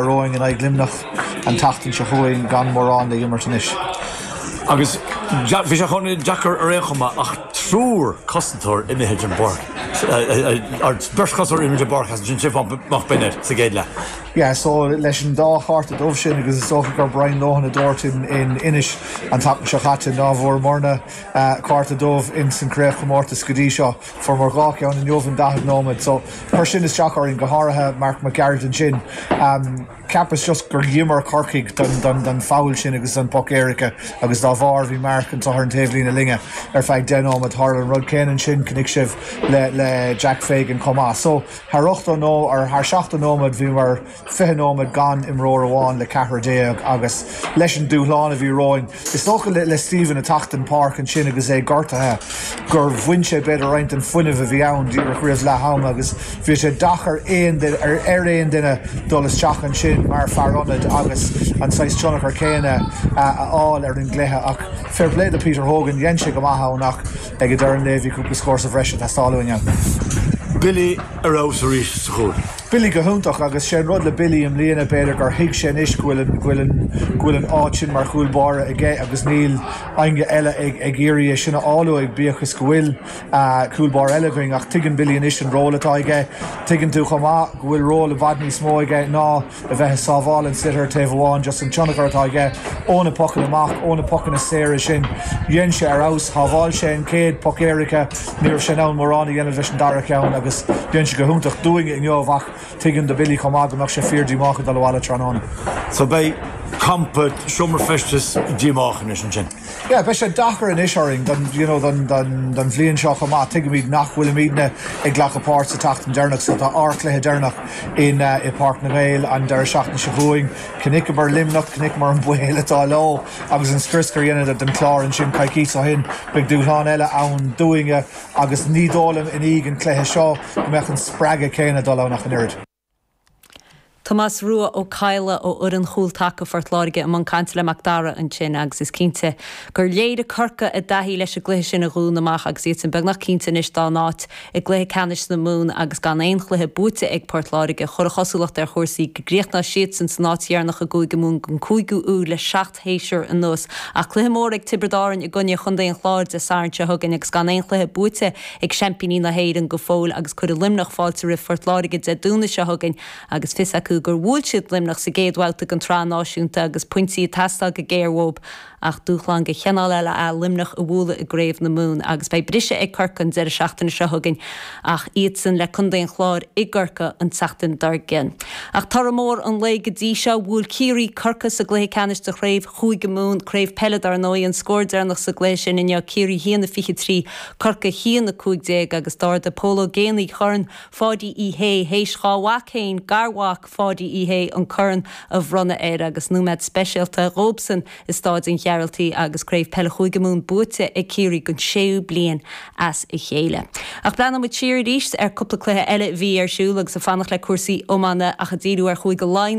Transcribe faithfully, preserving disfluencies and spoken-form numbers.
romhainn in aghaidh Luimneach an tseachtain seo chugainn gan mórán le imirt anois. Agus bhí sé chun deacair ar aon chuma ach triúr cosantóir imithe den bpáirc. Beirt chosantóir imithe den bpáirc as sin Stiofán Bennett sa gcéad leath. Yeah, so leis an dá chárta dubh sin agus is dócha gur Brian Lohan a dúirt in, in Inis an tseachtain seo caite ná bhfuaireamarna uh, cárta dubh in san craobhchomórtas go dtí seo fuaireamar dhá cheann inniu in daichead nóiméad, so chuir sin isteach orainn go háirithe Mark McGarrett sin. Um, Ceapas just gur dhíomar Corcaigh don, don, don foul sin agus an poc éirice agus dá bharr bhí Mark an tohar an taobhlíne linne ar feadh deich nóiméad tharla an rud céanna sin chonaic sibh le, le Jack Fagan chomh maith. So thar ochtó nó ar thar seachtó nóiméad bhíomar fiche nóiméad gan imreoir amháin le ceathrar déag agus leis an dúshlán a bhí romhainn. Is dócha le, le Stephen a theacht an pháirc ansin agus é gortaithe gur bhain sé b'fhéidir roinnt an fuinneamh a bhí ann díreach roimh leath ama agus bhí sé deacair aon ar ar aon duine dul isteach ansin mar fear ionaid agus an saghas tionchar céanna a fháil ar an gcluiche ach fair play do Peter Hogan dhein sé go maith ann ach ag an deireadh lae bhí cúpla scór sa bhreis ag teastáil uainn. Billy ar fheabhas arís sa chúl. Billy go hiontach agus sé an rud le Billy i mbliana b'fhéidir gur thuig sé anois go bhfuil an go bhfuil an áit sin mar chúl báire aige agus níl éinne eile ag ag iarraidh sin a fháil uaidh bíodh is go bhfuil uh, cúl báire eile againn ach tuigeann Billy anois an ról atá aige tuigeann tú chomh maith go bhfuil ról i bhfad níos mó aige ná a bheith sábháil an sliotar taobh amháin just an tionchar atá aige ó na pocanna amach ó na pocanna saora sin dhein sé ar fheabhas shábháil sé an chéad poc éirice ní raibh sé an mórán a dhéanamh leis an dara ceann agus dhein sé go hiontach dúinn inniu ach tuigeann do Billy chomh maith go mbeadh sé fíordhíomách ag dul abhaile tráthnóna. So beidh campa seomra feistis díomách anois ansin. Yeah, beidh sé deacair anois orainn don you know, don, don, don bhliain seo chomh maith tuigimid nach bhfuilimidne ag glacadh páirt sa tseachtain deireanach so tá ár cluiche deireanach in uh, i Páirc na nGael an deireadh seachtaine seo chugainn Chonaiceamar Luimneach chonaiceamar an baol atá leo agus an scrios a rinneadar den Chlár ansin coicís ó shin beidh dúshlán eile ann dúinne agus ní dóigh liom i ndiaidh an cluiche seo go mbeadh an spreagadh céanna dul ann ach an oiread. Tomás Rua Ó Cadhla ó fhoireann chúltaca Phort Láirge i mbun cainte le Mac Dara ansin agus is cinnte gur léirigh Corcaigh a dtaithí leis an gcluiche sin a Dhún amach agus iad sin beagnach cinnte anois dá n-áit i gcluiche ceannais na Mumhan agus gan aon chluiche buaite ag Port Láirge chuir an chosúlacht ar chúrsaí go gcríochnódh siadsan san áit dheireanach i gCúige Mumhan don cúigiú huair le seacht séasúr anuas ach cluiche mór ag Tiobraid Árann i gcoinne Chontae an Chláir Dé Sathairn seo chugainn agus gan aon chluiche buaite ag seaimpíní na hÉireann go fóill agus cuirfidh Luimneach fáilte roimh Phort Láirge Dé Domhnaigh seo chugainn agus fios acu gur bhuail siad Luimneach sa gcéad bhabhta den tsraith náisiúnta agus pointí ag teastáil go géar uathu ach dúshlán de chineál eile é Luimneach a bhualadh i gCraobh na Mumhan agus beidh briseadh ag Corcaigh an deireadh seachtaine seo chugainn ach iadsan le Contae an Chláir i gCorcaigh an tseachtain dár gcionn. Ach toradh mór an lae go dtí seo bhuail Ciarraí Corcaigh sa gcluiche ceannais de chraobh Chúige Mumhan craobh peile dar ndóigh an scór deireanach sa gcluiche sin inniu Ciarraí a haon a fiche trí Corcaigh a haon a cúig déag agus d'ardaigh Pól Ó Géibheannaigh Corn Pháidí Uí Shé théis dhá mhac féin garmhac Pháidí Uí Shé an corn a bhronnadh air agus nóiméad speisialta dóibhsan i Staid an Ghearaltaigh agus craobh peile Chúige Mumhan buaite ag Ciarraí don séú bliain as a chéile. Ach breathnóimid siar arís ar cúpla cluiche eile bhí ar siúl agus ag fanacht le cúrsaí iomána ach ag díriú ar Chúige Laighean